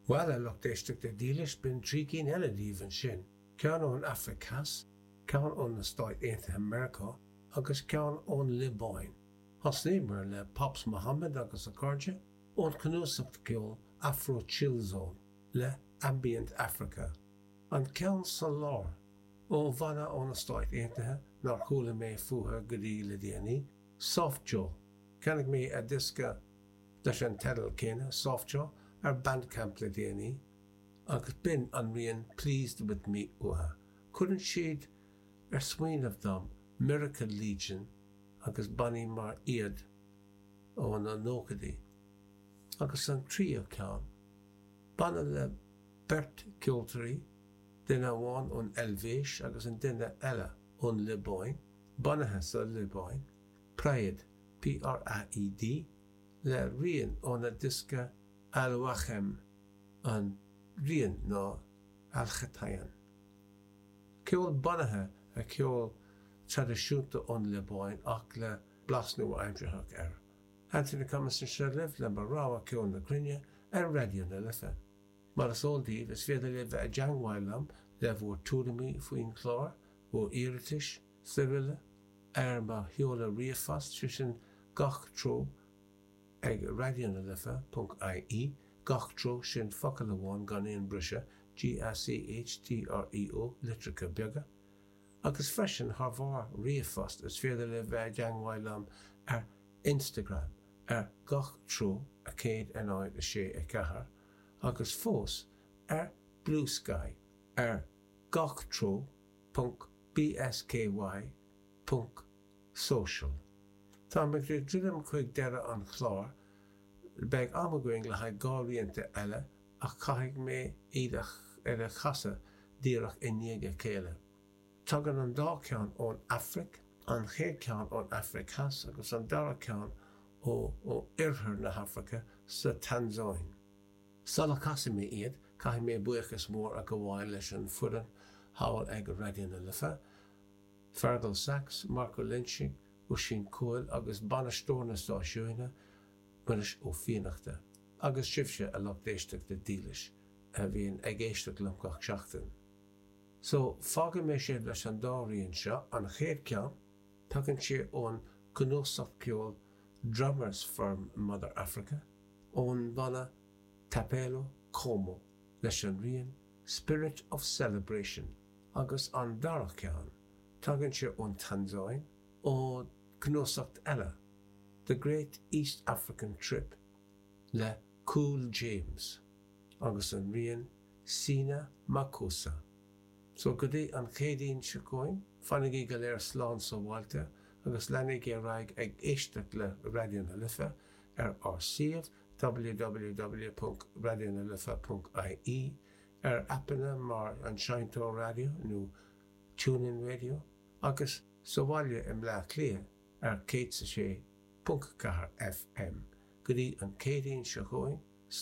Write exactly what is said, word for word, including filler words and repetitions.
Bhuel, a lucht éisteachta dílis, b'in trí cinn eile daoibh ansin, ceann ón Afraic Theas, ceann ó na Stáit Aontaithe Meiriceá agus ceann ón Liobáin. Thosnaíomar le Pops Mohamed agus a chairde ón chnuasach ceoil Afro Chill Zone le Ambient Africa. An ceann sa lár ó bhanna ó na Stáit Aontaithe nár chuala mé fúthu go dtí le déanaí, Soft Joe. Cheannaigh mé a diosca leis an teideal céanna, Soft Joe, ar Bandcamp le déanaí agus b'in an rian Pleased With Me uathu. Cuireann siad ar smaoineamh dom Miracle Legion agus bannaí mar iad ó na nóchaidí. Agus an tríú ceann, banna le beirt ceoltóirí, duine amháin ón Eilvéis agus an duine eile ón Liobáin, bunaithe sa Liobáin, Praed, P R A E D, le rian óna diosca Al-Wachem, an rian ná Al-Chatayan. Ceol bunaithe ar cheol traidisiúnta ón Liobáin ach le blas nua-aimseartha air. Anthony Cummins anseo libh le mo rogha ceol na cruinne ar Raidió na Life. Mar is eol daoibh, is féidir libh bheith i dteagmháil liom le bhur tuairimí faoin chlár, bhur iarratais is araile ar mo sheoladh ríomhphost, sé sin gach treo ag raidionalife ponc I E, gach treo, sin focal amháin gan aon briseadh, G A C H T R E O, litreacha beaga. Agus freisin thar bharr ríomhphost is féidir libh bheith i dteagmháil liom ar Instagram ar gach treo a céad a náid a sé a ceathair agus fós ar Blue Sky ar gach treo ponc B S K Y ponc social. Tá mé ag druidim chuig deireadh an chláir, beidh am againn le haghaidh dhá rianta eile ach caithfidh mé iad ar a chasadh díreach i ndiaidh a chéile. Tagann an dá cheann ón Afraic, an chéad cheann ón Afraic Theas agus an dara ceann ó ó oirthear na hAfraice sa Tansáin. Sula gcasfaidh mé iad, caithfidh mé buíochas mór a ghabháil leis an foireann thall ag Raidió na Life, Fergal Sachs, Marco Loinsigh, Oisín Cóil agus bainisteoir na stáisiúine, Muiris Ó Fiannachta, agus sibhse, a lucht éisteachta dílis a bhíonn ag éisteacht liom gach seachtain. So fágfaidh mé sibh leis an dá rian seo. An chéad ceann, tagann sé ón gcnuasach ceoil Drummers for Mother Africa ón banna Thapelo Kgomo leis an rian Spirit of Celebration agus an dara ceann, tagann sé ón Tansáin ó chnuasach eile, The Great East African Trip le Cool James agus an rian Sina Makosa. So go dtí an Chéadaoin seo chugainn, fanaigí go léir slán sábháilte agus leanaigí ar aghaidh ag éisteacht le Raidió na Life ar ár suíomh W W W ponc raidionalife ponc I E, ar aipeanna mar an Seinnteoir Raidió nó TuneIn Radio agus sa bhaile i mBleá Cliath ar céad a sé ponc ceathair F M. Go dtí an Chéadaoin seo chugainn.